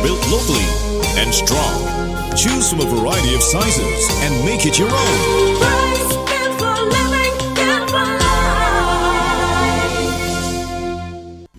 Built locally and strong. Choose from a variety of sizes and make it your own. Price, built for living, built for life.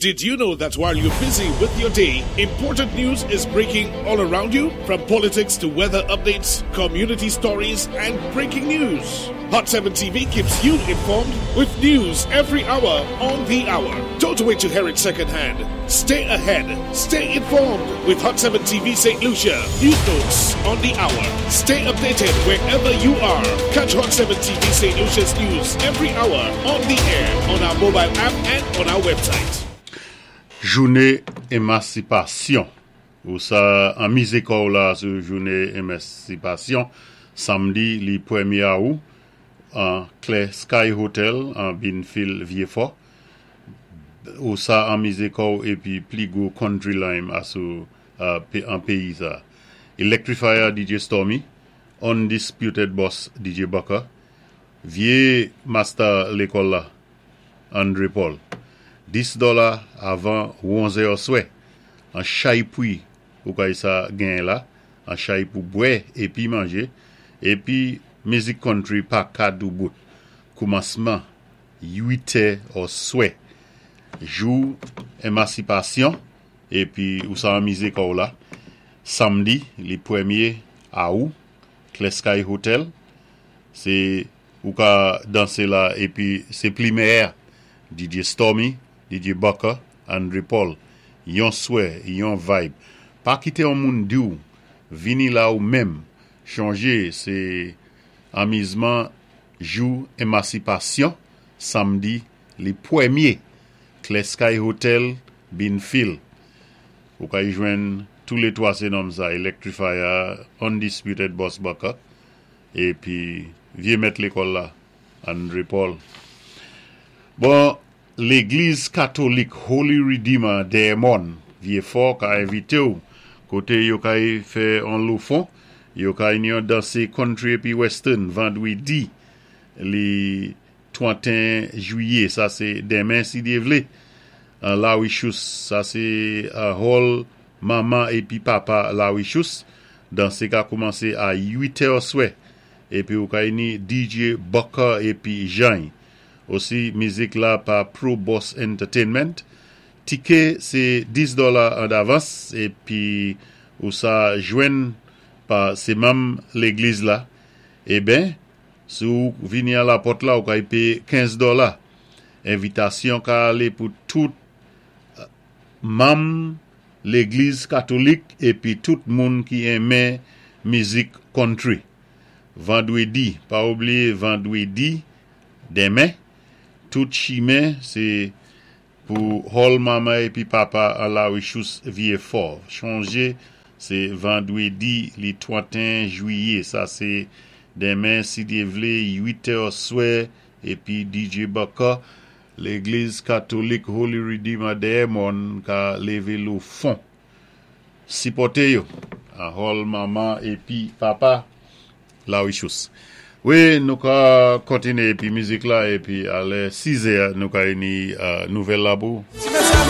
Did you know that while you're busy with your day, important news is breaking all around you? From politics to weather updates, community stories, and breaking news. Hot 7 TV keeps you informed with news every hour on the hour. Don't wait to hear it secondhand. Stay ahead. Stay informed with Hot 7 TV St. Lucia. News notes on the hour. Stay updated wherever you are. Catch Hot 7 TV St. Lucia's news every hour on the air, on our mobile app, and on our website. Jouné Émansipasyon Ou sa anmizé kò'w la sou jouné Émansipasyon Samdi li pwémyé Awou an Clear Sky Hotel an Binfil Vyéfò Ou sa anmizé kò'w épi pli gwo country lime asou an péyi sa Electrifier DJ Stormy Undisputed Boss DJ Bucker Vyé Master lékòl la Andre Paul 10 dòla avan 11 è oswè an chay pwi ou kay sa genyen la an chay pou bwè épi manjé épi mizik country pa ka doubout koumansman 8 è oswè jou Émansipasyon épi ou sa anmizé kò'w la Samdi li pwémyé Awou Clear Sky Hotel sé ou ka dansé la épi sé pli méyè DJ Stormy DJ Bucker Andre Paul yon swè yon vibe pa kité yon moun di'w vini la ou menm chonjé sé anmizman jou Émansipasyon Samdi li pwémyé Clear Sky Hotel Binfil ou kay jwenn tou lé 3 sé nonm sa Electrifier Undisputed Boss Bucker épi vyé mèt lékòl la Andre Paul Bon Légliz Katolik Holy Redeemer dèyè mòn Vyéfò ka envité'w koté yo kay fè on lofon yo kay ni yon dansé country épi western Vandwédi li 31 jwiyé sa sé denmen si Dyé vlé an Larichous sa sé hall manman épi papa Larichous dansé ka koumansé a 8 è oswè épi ou kay ni DJ Bucker épi Jany osi mizik la pa Pro Boss Entertainment tiké sé 10 dòla an davans épi ou sa jwenn pa sé manm légliz la eben si ou vini a lapòt la ou kay péyé 15 dòla envitasyon ka alé pou tout manm légliz katolik épi tout moun ki enmen mizik country Vandwédi pa oubliyé Vandwédi denmen tout chimen sé pou hall manman épi papa an Larichous Vyéfò chonjé sé Vandwédi li 31 jwiyé sa sé denmen si Dyé vlé 8 è oswè épi DJ Bucker Légliz Katolik Holy Redeemer dèyè mòn ka lévé lofon sipòté yo an hall manman épi papa Larichous Wi nou ka kontiné épi mizik la épi a lè 6 è nou kay ni nouvèl la pou ou.